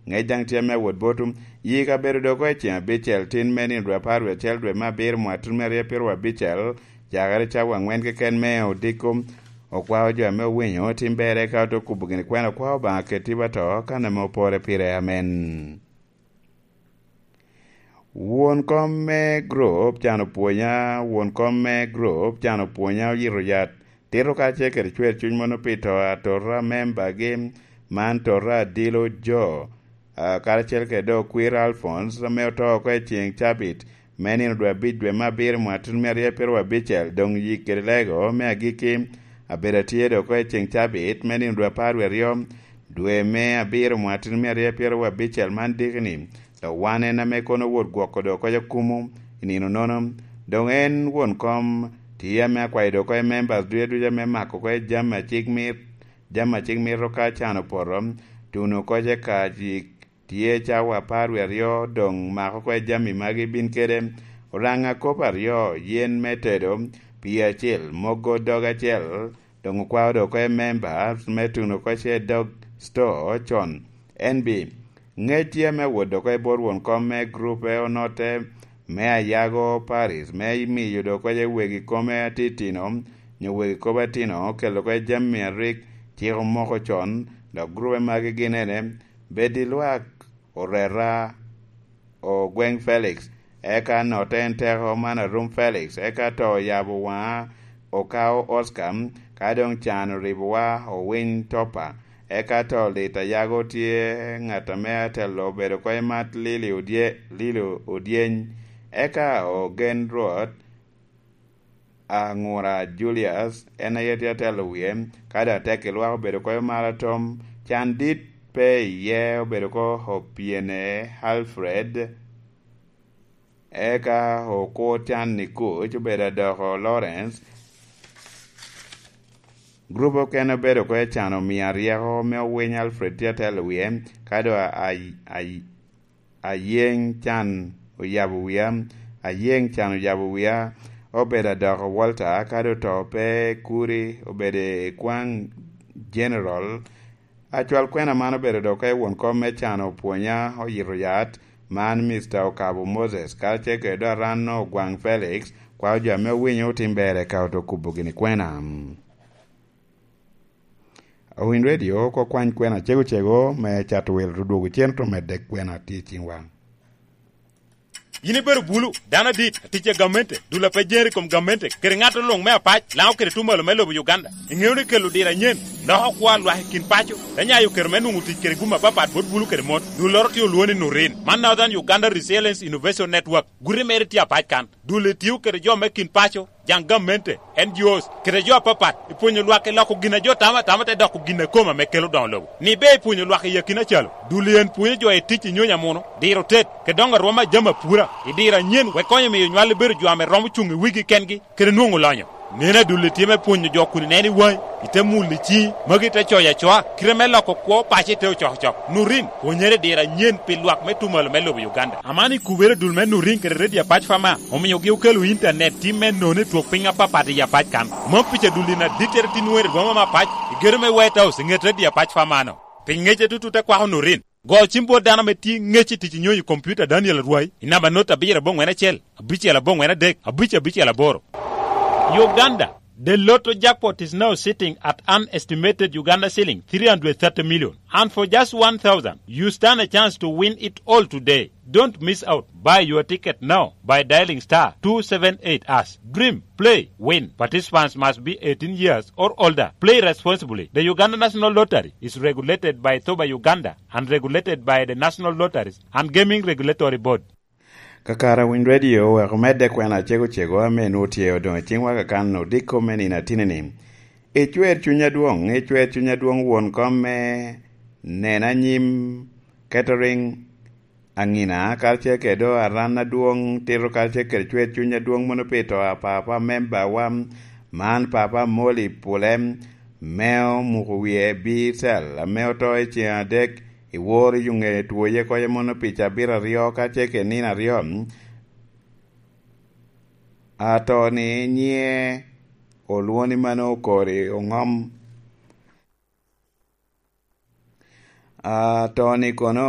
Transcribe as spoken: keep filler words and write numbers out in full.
Ŋec daŋ tye ame awot botwu. Yik abedo dok oko i ceŋ abicel, tin me nino dwe apar wie acel, dwe me abiro, mwatun me aryo pyeru abicel, cakere cawa aŋwen keken me odiko. Okwao jo ame owinyo, tim berre ka ote kubo gini kwena, okwao Obaŋa keti ba to, kan ame opore pire. Amen. Won kom me grup can opwonya, won kom me grup can opwonya oyito yat, tito kacel kede cwer cuny mono pi to atora membagi, man tota adilo jo, a, karacel kede dok kwir Alphonse ame oto oko i ceŋ cabit, me nino dwe abic dwe me abiro mwatun me aryo pyeru abicel, doŋ yik kede lego me agikki, abedo atye dok oko i ceŋ cabit, me nino dwe apar wie aryo, dwe me abiro mwatun me aryo pyeru abicel man dikini, dok wan en ame kono wot gwoko dok oko kumo i nino nono. Doŋ en won kom tye ame akwayo dok oko i members ducu ducu ame mako oko i jami acik mit, jami acik mito ka can opoto, tuno oko i kacik tye cawa apar wie aryo, doŋ mako oko i jami magi bin kede oraŋa kop aryo, yen me tedo, pii acel, mogo dog acel, doŋ okwao dok oko i members me tuno oko i dog store con. En bi, ŋec tye ame awot dok oko i bot won kom me grupe onotte me Ayago Paris, me miyo dok oko i wegi kome atitino, nyo wegi kop atino, kelo oko i jami a rik cik omoko con, dok grupe magi gin ene, bed i lwak, oreta, ogweŋ Felix, eka notte en teko man arum Felix, eka to oyabo waŋa, okao Oscar, ka doŋ can oribowa, owiny topa, eka to lit Ayago tye ŋat ame atelo obedo oko i mat Lili Odye-, Lili Odyeny, eka ogen Rwot, Aŋura Julius, en aye tye atelo wie, ka doŋ atek i lwak obedo oko i Marathon, can dit pe iye obedo oko Opiene Alfred, eka okur can i kuc obedo adoko Lawrence. Grup okene obedo oko i can omia ryeko me owiny Alfred tye atelo wie, ka doŋ a-, a-, a-, Ayeŋ can oyabo wia, Ayeŋ can oyabo wia, obedo adoko Walter, kadi oto pe kuri, obedo i kwaŋ General. Acwal kwena man obedo dok ka i won kom me can opwonya oyito yat, man Mister Okabo Moses, karacel kede dok Aranno Ogwaŋ Felix, kwao jo ame owinyo otim ber eka oto kubo gini kwena. Owiny Radio, oko kwany kwena cego cego me cato welo odwogo cen to medde kwena tye i ciŋwa. In ibedo bulu, dano adit, atic a gamente, dul a pe jeri i kom gamente, kede ŋat luŋ me apac, Laŋo kede tumalo me lobo Uganda. Iŋeo ni kelo diro anyen, loko kwo a lwak i kin paco, te nyayo kero me nwoŋo tic kede gum apapat bot bulu kede mon. Dulloro tye olwoŋo ni Nurin. Man Northern Uganda Resilience Innovation Network. Guti mere tye apac kan. Dul etio kede jo me kin paco, jaŋ gamente, N G Os, kede jo apapat, i pwonyo lwak i loko gin a jo tamo atama te doko gin a kome ame kelo doŋo lobo. Ni be i pwonyo lwak i akina calo, dul en pwonyo jo i tic i nyonyo amuno, diro tet, kede doŋo arwom a jami apura, i diro anyen wek konyo miyo nywal ibedo jo ame romo cuŋ i wigi kengi, kede nwoŋo lonyo. Nen adul itye me pwonyo jo kun ineno i waŋi, ite mulo i ciŋi, magi te coyo acoa, kite me loko kwo paco ite ocokocok. Nurin, pwonyere i diro anyen pi lwak me tumalo me lobo Uganda. Aman i kubere dul me Nurin kede Redio Apac Fama, omiogi okelo intanet tim me nono i twok piny apapat i Apac kan. Mom pica dul in adittere tin nwoŋo i rwom me apac, i gedo me White House, i ŋet Redio Apac Fama-no. Pi ŋecce tutu te kwako Nurin. Go cim bot dano ame tye ŋec i tic i nyonyo i kompiuta Daniel Arwai i namba not abiro aboŋwen acel, abicel aboŋwen adek, abic abicel aboro. Uganda, the lotto jackpot is now sitting at an estimated Uganda shilling three hundred thirty million. And for just one thousand, you stand a chance to win it all today. Don't miss out. Buy your ticket now by dialing star two seven eight hash. Dream, play, win. Participants must be eighteen years or older. Play responsibly. The Uganda National Lottery is regulated by thoba Uganda and regulated by the National Lotteries and Gaming Regulatory Board. Kakare Winy Radio oweko medde kwena cego cego ame nwoŋo tye odoŋo i ciŋwa kakan odiko me nino atinini. Icwer cuny adwoŋ, icwer cuny adwoŋ won kom me Nena Nyim Catering, Aŋina, karacel kede do Aran adwoŋ, tito karacel kede cwer cuny adwoŋ mono pi to a papa membawa, man papa Moli Pule, me omuko wie Bicel, ame oto i ceŋ adek, i woro i ŋe twoye koyo mono pi cabit aryo karacel kede nino aryo. Ato-ni nyiŋe olwoŋo ni Mano Okori Oŋom. Ato-ni kono